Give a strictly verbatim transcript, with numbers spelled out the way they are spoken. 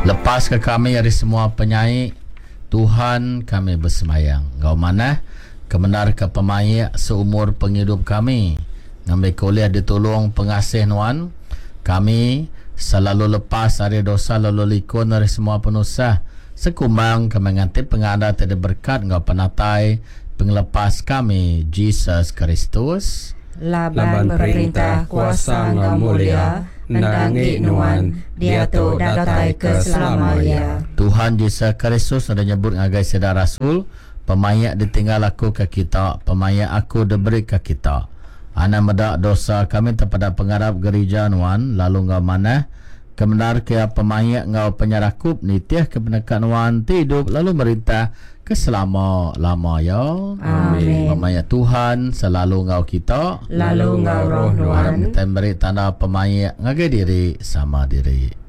Lepas ke kami ari semua penyai, Tuhan kami besemayang. Enggau manah, kemendar ke pemaik seumur pengidup kami, ngambi ke ulih ditulong pengasih Nuan, kami selalu lepas ari dosa lalu likun ari semua penusah, sekumbang kami nganti pengada ti diberkat enggau penatai Pengelepas kami, Jesus Kristus. Laban perintah, kuasa enggau mulia endang enggi Nuan, diatu datai ke selama iya. Tuhan Jesus Kristus udah nyebut ngagai sida rasul, Pemaik ditinggal aku ke kita, pemaik aku diberi ke kita. Anang meda dosa kami tang peda pengarap Gerija Nuan, lalu enggau manah kemendar ke iya pemaik enggau penyerakup, nitih ke peneka Nuan ti idup lalu merintah ke selama lama iya. Amin. Pemaik Tuhan selalu enggau kita, Lalu enggau roh Arap Nuan. kita meri tanda pemaik ngagai diri sama diri.